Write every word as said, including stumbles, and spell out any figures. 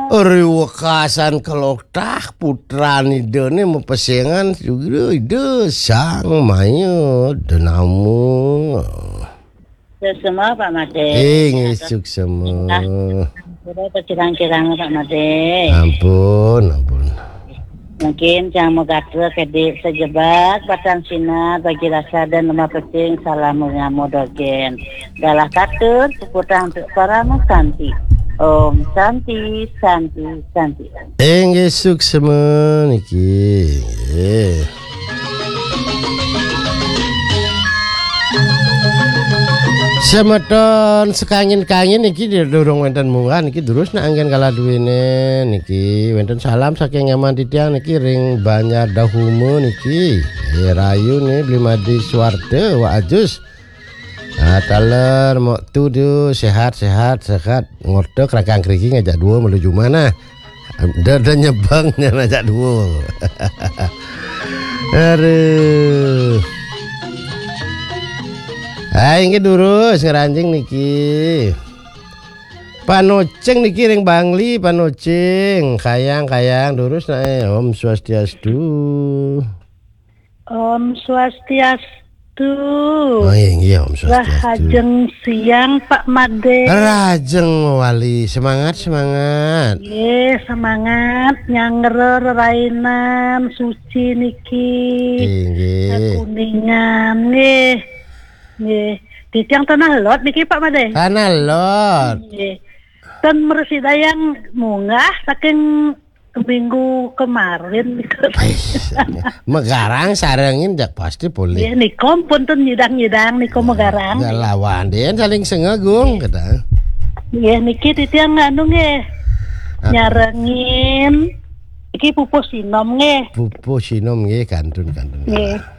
Ri wekasan kelotah putran idene mapesengan sugra ida sang maya denama. Suksema, Pak Made. Eh, nggih, suksema. Sudah terkirang-kirang, Pak Made. Ampun, ampun. Mungkin cang magatra kedi sejebak batang sinar bagi rasa dan lemah pesing salam mengamu dogen. Dalah katur puputang untuk para santi. Om Santi, Santi, Santi. Inggih suksema niki. Nggih. Semeton sekangin-kangin niki durung wenten munggah niki durus nak anggen kala duwene niki wenten salam saking nyaman titiang niki ring Banjar Dahuma niki. Eh, rayu nih Bli Madi Suwarta wa ajus. Ah, taler mok tu du sehat-sehat sehat ngorta kerakang keriki ngajak dua melu jumah nah. Dah dah nyebang nya ngajak dua. Aduh. Hai, inggih durus ngranjing niki. Panocing niki ring Bangli, Panocing. Kayang, kayang durus nae. Om Swastiastu. Om Swastiastu. Oh, iya, iya, Om Swastiastu. Rahajeng siang, Pak Made. Rahajeng wali. Semangat, semangat. Nggih, semangat nyanggra rerainan suci niki. Inggih. Kuningan nggih. Nggih. Titiang Tanah Lot niki, Pak Made. Tanah Lot. Nggih. Ten mresidayang munggah saking minggu kemarin niku. Ais, megarang sarengin jak pasti polih. Nggih, nika pun ten nyidang-nyidang niku megarang. Ya lawan den saling sengagung kata. Nggih, niki titiang anu nggih. Apa? Nyarengin iki pupuh sinom nggih. Pupuh sinom nggih, kantun-kantun. Nggih.